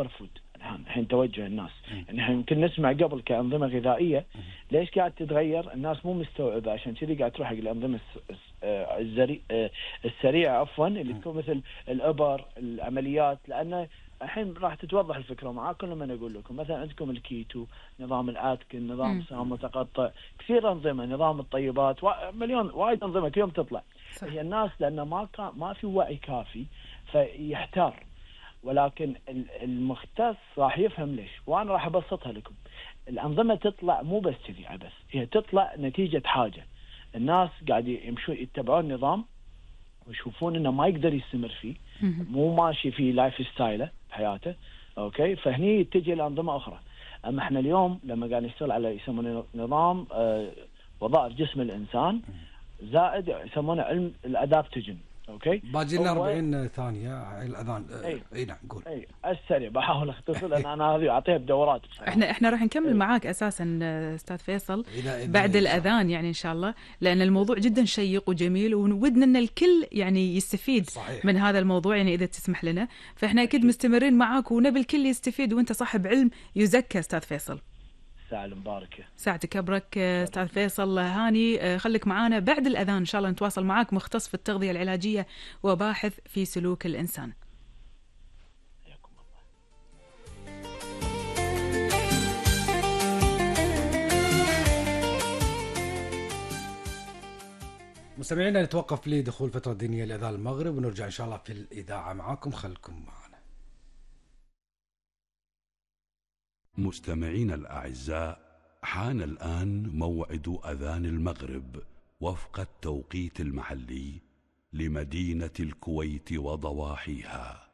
فود الحين توجه الناس. يعني احنا يمكن نسمع قبل كأنظمة غذائية، ليش قاعد تتغير؟ الناس مو مستوعبة، عشان كذي قاعد تروح حق الأنظمة السريعة عفوا، اللي تكون مثل الإبر، العمليات. لأن الحين راح تتوضح الفكرة معاكم لما أنا أقول لكم مثلا عندكم الكيتو، نظام الأتكن، نظام صيام متقطع، كثير أنظمة، نظام الطيبات، مليون وايد أنظمة كل يوم تطلع. هي الناس لأنه ما في وعي كافي فيحتار، ولكن المختص راح يفهم ليش، وانا راح ابسطها لكم. الانظمه تطلع مو بس كذي عبث، هي تطلع نتيجه حاجه. الناس قاعد يمشون يتبعون نظام ويشوفون انه ما يقدر يستمر فيه، مو ماشي في لايف ستايله بحياته، اوكي، فهني تجي الانظمه اخرى. اما احنا اليوم لما قاعد نشتغل على يسمونه نظام وظائف جسم الانسان، زائد يسمونه علم الادابتوجين. اوكي، باجي لنا 40 ثانيه على الاذان. اي نعم قول. اي السريع بحاول اختصر لان انا هذه اعطيها بدورات بصراحه. احنا راح نكمل معاك اساسا استاذ فيصل بعد الاذان يعني ان شاء الله، لان الموضوع جدا شيق وجميل وودنا ان الكل يعني يستفيد صحيح من هذا الموضوع، يعني اذا تسمح لنا. فاحنا اكيد مستمرين معاك ونبي الكل يستفيد، وانت صاحب علم يزكى استاذ فيصل. ساعة المباركة، ساعتك أبرك أستاذ فيصل هاني. خليك معانا بعد الأذان إن شاء الله نتواصل معاك، مختص في التغذية العلاجية وباحث في سلوك الإنسان. مستمعينا نتوقف لدخول فترة دينية لأذان المغرب ونرجع إن شاء الله في الإذاعة معاكم، خلكم معنا. مستمعين الأعزاء، حان الآن موعد أذان المغرب وفق التوقيت المحلي لمدينة الكويت وضواحيها.